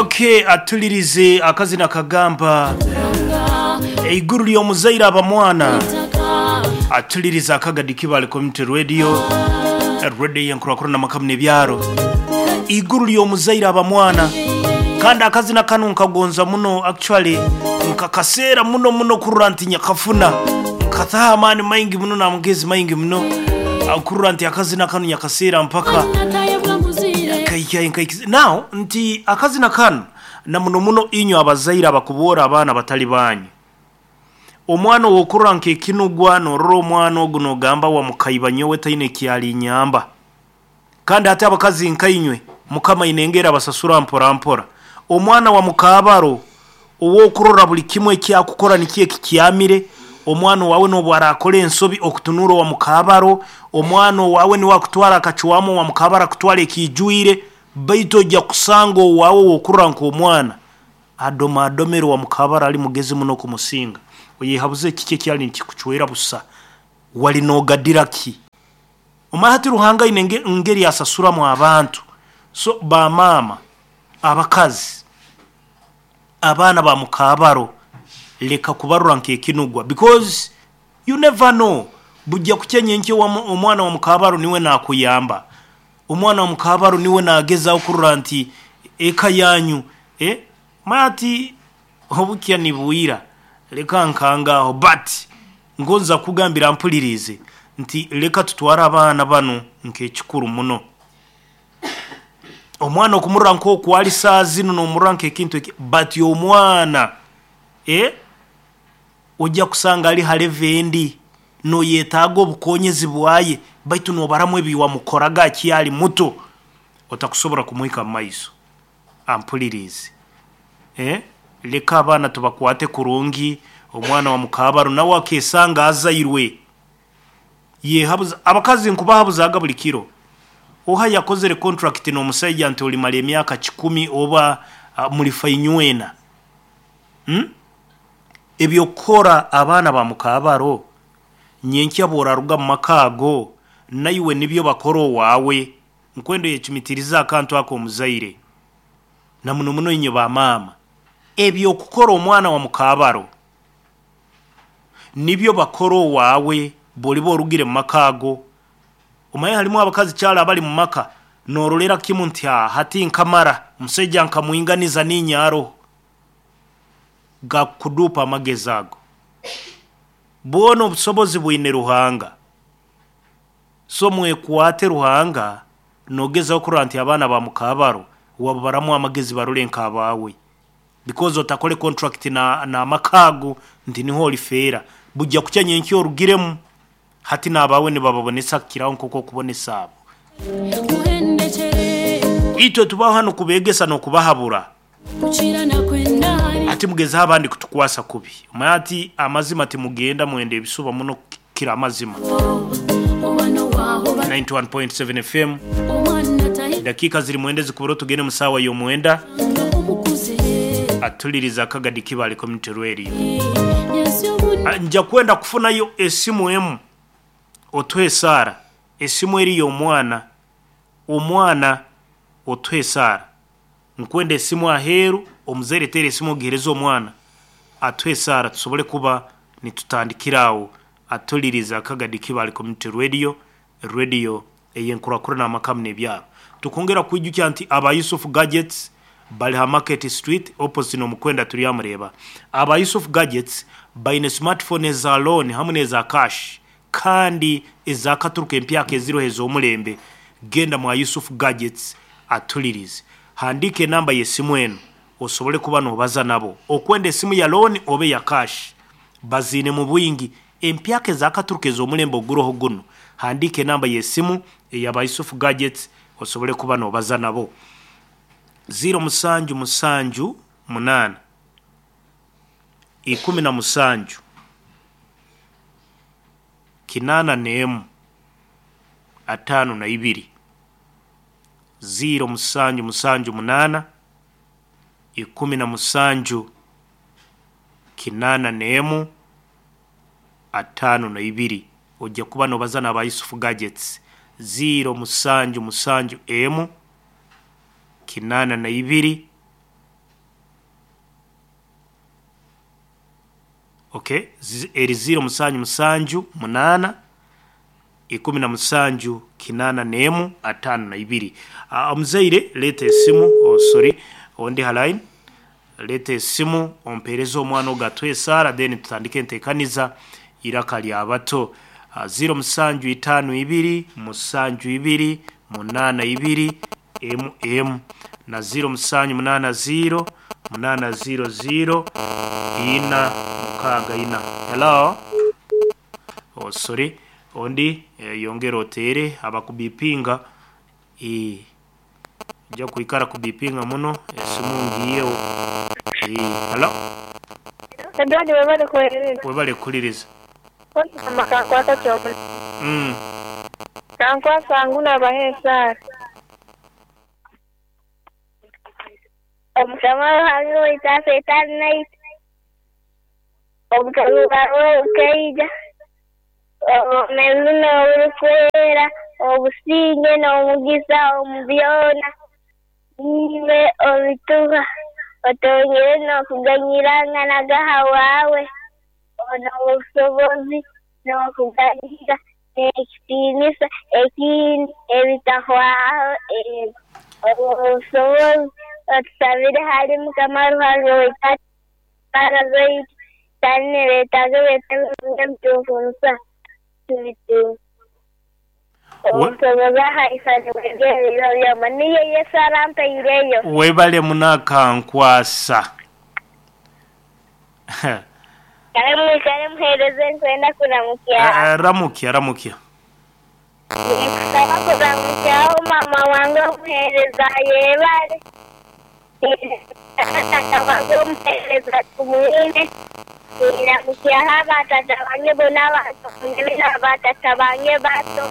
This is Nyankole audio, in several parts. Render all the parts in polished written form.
Ok atulirize akazina kagamba Eiguru ly'omuzaire aba mwana atulirize akagadi Kibale Community Radio Radio y'enkurakurana amaka muno ebyaro Eiguru ly'omuzaire aba mwana kandi akazina kanu nkagonza muno actually nkakaseera muno muno kurora nti nyakafuna nkataho amaani maingi muno n'amagezi maingi muno kurora nti akazina kanu nyakaseera mpaka Nkaihika nkaikiza Now nti akazina kanu na muno muno inywe abazaire abakuboora abaana batali banyu. Omwana ow'okurora nk'ekinugwa norora omwana ogu nogamba wamukaiba nyowe taine eki alinyamba. Kandi hati abakazi nkainywe Mukama aine engeri abasasura mpora mpora. Omwana wa mukaabaro ow'okurora buli kimwe eki akukora nikyo ekikyamire, omwana owaawe n'obu arakora ensobi okutunuura owa mukaabaro, omwana owaawe niwe akutwara akacwamu owa mukaabaro akutwara ekiijwire, baitu oija kusanga owaawe ow'okurora nk'omwana adomadomere owa mukaabaro ali mugezi muno kumusinga. Oyehabuze kiki ekyali nikikucwera busa? Wali nogadira ki? Omanya hati Ruhanga aine engeri asasuramu abantu. So ba maama, abakazi, abaana ba mukaabaro leka kubarora nk'ekinugwa because you never know bujja kukya nyenkya omwana wa mukaabaro niwe nakuyamba, omwana wa mukaabaro niwe nagezaho kurora nti eka yanyu eh, omanya hati obukya nibwira leka nkange aho but ngonza kukugambira mpuliriize nti leka tutware abaana banu nk'ekikuru muno. Omwana okumurora nk'oku ari saaha zinu nomurora nk'ekintu eki but omwana eh oija kusanga ari ha level endi noyetaaga obukonyezi bwaye baitu nobaramu ebi wamukoraga akyari muto otakusobora kumuhika mumaiso. Ampuliriize eh leka abaana tubakwate kurungi omwana wa mukaabaro nawe akesanga azairwe Yehabuza, abakazi nkubahabuzaaga buli kiro, oha yakozere contract n'omusaija nti olimara emyaka kikumi oba mulifa inywena? Umm eby'okukora abaana ba mukaabaro, nyenkya bw'oraruga mu maka ago, naiwe nibyo bakora owaawe. Nkwenda oyecumitirize akantu ako omuzaire, na muno muno inywe ba maama. Eby'okukora omwana wa mukaabaro. Nibyo bakora owaawe bw'oliba orugire mu maka ago. Omanye harimu abakazi kyaro abari mu maka noororera kimu nti haa hati nkamara, omusaija nkamwinganiza niinye aroho. Gakukuduupa amagezi ago. Bwona obusobozi bwine Ruhanga. So mwekwate Ruhanga noogezaho kurora nti abaana ba mukaabaro wababaramu amagezi barore nk'abaawe. Because otakore contract na n'amaka ago nti niho orifeera. Bujja kukya nyenkya orugiremu, hati n'abaawe nibababonesa kukiraho nk'oku okubonesa abo. Itwe tubaho hanu kubeegesa n'okubahabura. Hati mugezeho abandi kutukwasa kubi. Omanye hati amazima timugenda mwenda ebisuba muno kukira amazima. 91.7 FM. Dakiika ziri mwenda ezikubura otugende mu saawa y'omwenda. Atuliriza akagadi Kibale Community Radio. Nja kwenda kufunayo esimu emu otuhe esaara. Esimu eri y'omwana. Omwana otuhe esaara. Nkwenda esimu aheeru, omuzaire teera esimu ogihereze omwana atuhe esaara tusobole kuba nitutandikira awo atuliriza akagadi Kibale Community Radio, Radio ey'enkurakurana amaka hamu n'ebyaro. Tukwongera kukwijukya nti aba Yusuf Gadgets bari ha Market Street opposite n'Omukwenda Turyamureeba. Aba Yusuf Gadgets baine smartphone eza loan hamu n'eza cash kandi ezakaturuka empyaka eziroho ez'omulembe. Genda mwa Yusuf Gadgets atulirize. Handiika enamba y'esimu enu osobole kuba nobaza nabo. Okwenda esimu ya loan oba eya cash baziine mu bwingi. Empyaka ezakaturuka ez'omulembe oguroho gunu. Handiika enamba y'esimu eya ba Yusuf Gadgets osobole kuba nobaza nabo. Ziiro musanju musanju munaana, 17, 81, 52. Ziiro musanju musanju munaana, 17, 81, 52. Oija kuba nobaza n'aba Yusuf Gadgets. Ziiro musanju musanju emu, 82. Okay, eri ziro musanju musanju munaana 17 81 52. Omuzaire leeta esimu, oh sorry, ondi ha line, leeta esimu ompereze omwana ogu atuhe esaara then tutandike enteekaniza Iraka lya bato. Ziro musanju itaano ibiri musanju ibiri munaana ibiri emu emu na ziro musanju munaana ziro munaana ziro ziro ina mukaaga ina. Hello? Oh sorry, ondi yongera oteere abakubipinga eh, ojja kwikara kubipinga muno esimu ngiiyeho. Eh, hello? Edward webale kuhereza. Webale kuhuliriza. Mukama kankwasa kyomuna. Kankwasa ngu nabaha esaara. Omukama Ruhanga waitu aseeta naitwe. Obukaruba bwe bukaija. Obwomeezi n'oburikwera, obusinge n'omugisa omu byona. Niiwe obituha. Otwongyere n'okuganyirangana ahabwawe. N'obusobozi n'okuganyira n'ekitiinisa ekindi ebitahwaho eego. Obwo busobozi otusabire ahari Mukama Ruhanga waitu esaara zaitu kandi nibeetaaga ebi tubitunga. Obusobozi ahaisani bw'ebiro byona. Niyo Yesu arampaireyo. Webale muno akankwasa. Kare mwikare muheereze nkwenda kuramukya. Ramukya ramukya. Ninkusaba kuramukyaho mama wange omuheereza ayebare. Tata wange omuheereza tumwine. Niramukyaho abatata bange bona abantonebe n'abatata bange bato.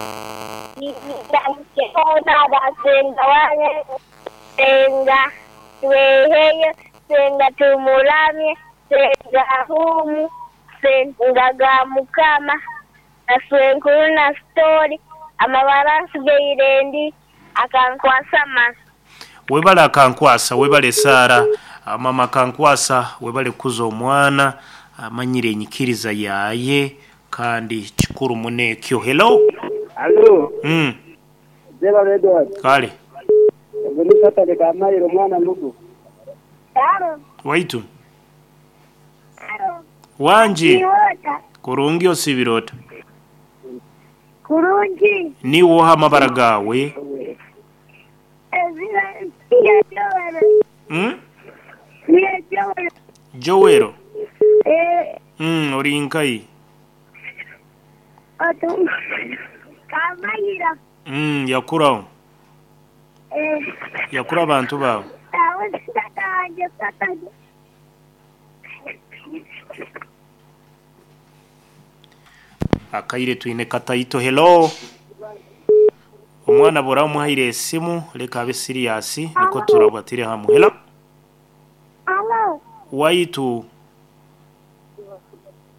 Niramukyaho n'abasenga wange senga tweheyo senga tumuramye senga humu senga ga mukama na swenkuru na sitori amabara nsigaire ndi akankwasa masa. Webale akankwasa, webale Sara, mama akankwasa, webale kukuza omwana, amanyire enyikiriza yaye kandi kikuru muno ekyo. Hello? Alo. Zebale Edward. Kale. Ogwo ni Saturday Kamaire omwana mugo. Waitu. Wangi. Kurungi osibirota. Kurungi. Niwe oha amabara gawe? Ezira ya Joel. Ya Joel. Joel. Eh. Ori nkai. Otu. Kamaira. Yakuraho. Eh. Yakura abantu bawe. Awo tata wanje tata. Akaire twine kataito. Hello. Omwana bora omuhaire esimu leka abe serious niko turabatire hamwe. Hello. Hello. Waitu.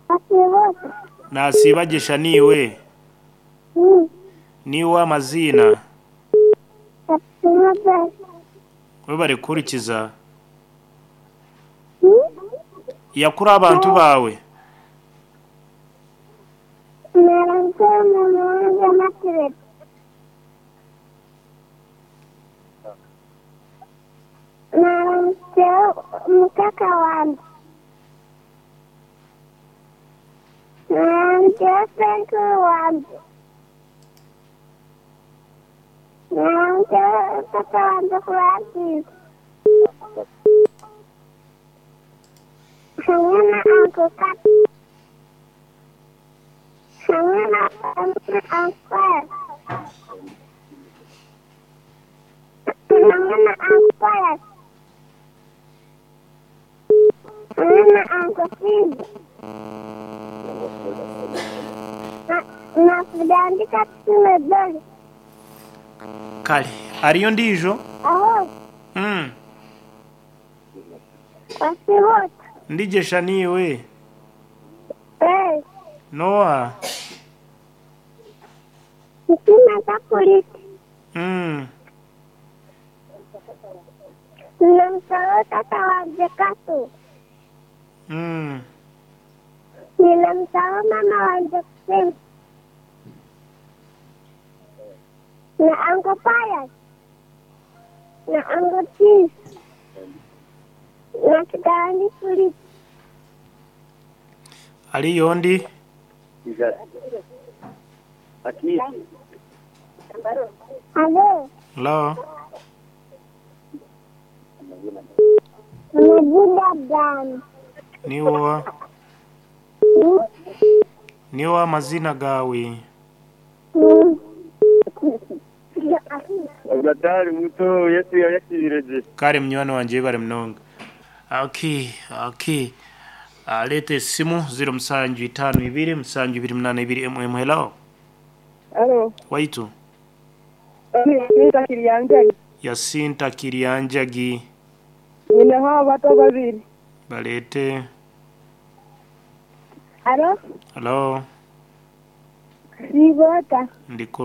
Asibo. Nasibajesha niwe. Niwe amazina. Webale kurikiza. Yakura abantu bawe. Mukaka wange. Naramukyeho senkuru wange. Naramukyeho tata wange Francis. Hamwe na Uncle Kat. Hamwe na Uncle. Hamwe na Uncle. Hamwe na Uncle Sid. Nakudandika tusime. Kale, ariyo ndijo? Aho. Wasibota. Ndijesha niwe. Eh. Noa. Mtima takuliti. Namsalo tata wange Katu. Ninamsahau mama wanje kusema. Na Uncle Pius. Na Uncle Chief. Na Kitandi Philip. Aliyo ndi Alo. Hello. Amazina gani? Niwa niwa amazina gawe. Agatari muto Yesu yayakirije. Kare munywani wanje bari munonga. Okay, okay. Leta esimu 0752 782 hello. Alo. Waitu. Yasinta Kiriyanjagi. Yasinta Kiriyanjagi. Ninaho abato babiri. Balete. Alo. Hello. Sibota. Ndi kurungi.